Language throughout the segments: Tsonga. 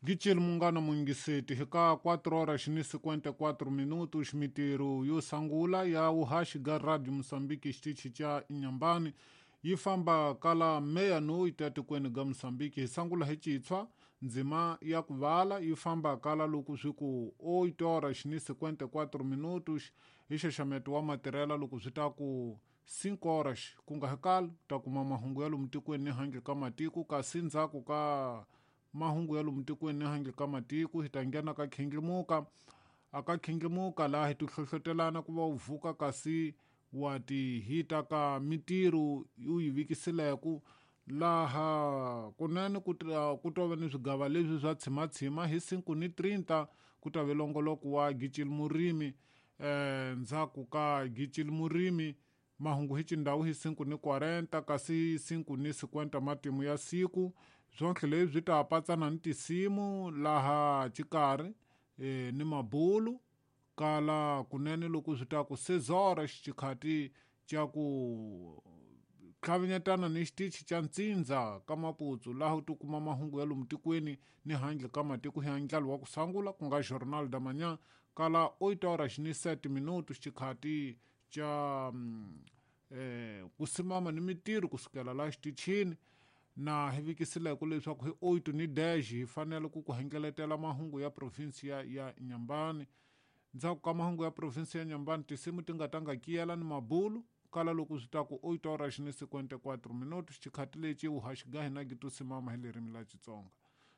Gicil munghana muyingiseti hi ka 4 horas ni 54 minutos mitirho yo sangula ya vuhaxi ga Radio Mozambique xitichi xa Inhambane yi famba kala meia-noite etikweni ga Mozambique hi sangula hi citshwa ndzima ya ku vala yi famba kala loko swi ku 8 horas ni 54 minutos hi xaxameto wa matirhela loko swi ta ku 5 horas ku nga hi kala ta kuma mahungu ya lomu tikweni ni handle ka matiko kasi ndzhaku ka mahungu ya lomu tikweni ni handle ka matiko hi ta nghena ka khindlimuka a ka khindlimuka laha hi tihlohlotelana ku va u vuka kasi wa ti hita ka mitirho u yi vikisileku laha kunene ku ku to va ni swigava leswi swa tshimatshima hi 5 ni 30 ku ta ve longoloko wa gicil murimi ndzhaku ka gicil murimi mahungu hi xindhawu hi 5 ni 40 kasi 5 ni 50 matimu ya siku swonke leswi swi ta patsana ni tinsimu laha xikarhi ni mabulu kala kunene loko swi ta ku sezora xikhati xa ku tlhavinyetana ni xitichi xa ntsindza ka maputsu laha u tikuma mahungu ya lomu tikweni ni handle ka matiko hi ndlalo wa ku sangula ku nga Jornal da Manhã kala 8 horas ni 7 minutos xikhati xa ku simama ni mitirho kusukela laha xitichini na hi vikisileku leswaku hi 8 ni dash hi fanele ku ku hengeletela mahungu ya province ya Inhambane ndzhaku ka mahungu ya province ya Inhambane tinsimu ti nga ta nga kiyela ni mabulu kala loko swi ta ku 8 horas ni 54 minutos xikhati lexi vuhaxi ga hina gi to simama hi ririmi la Xitsonga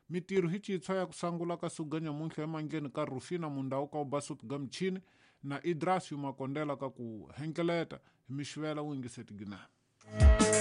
mitirho hi citshwa ya ku sangula ka suga nyamuntlha emandleni ka Rufina Mundau ka Ubasut ga michini na Idras Yumakondela ka ku hengeleta hi mixivela u yingiseti ginani.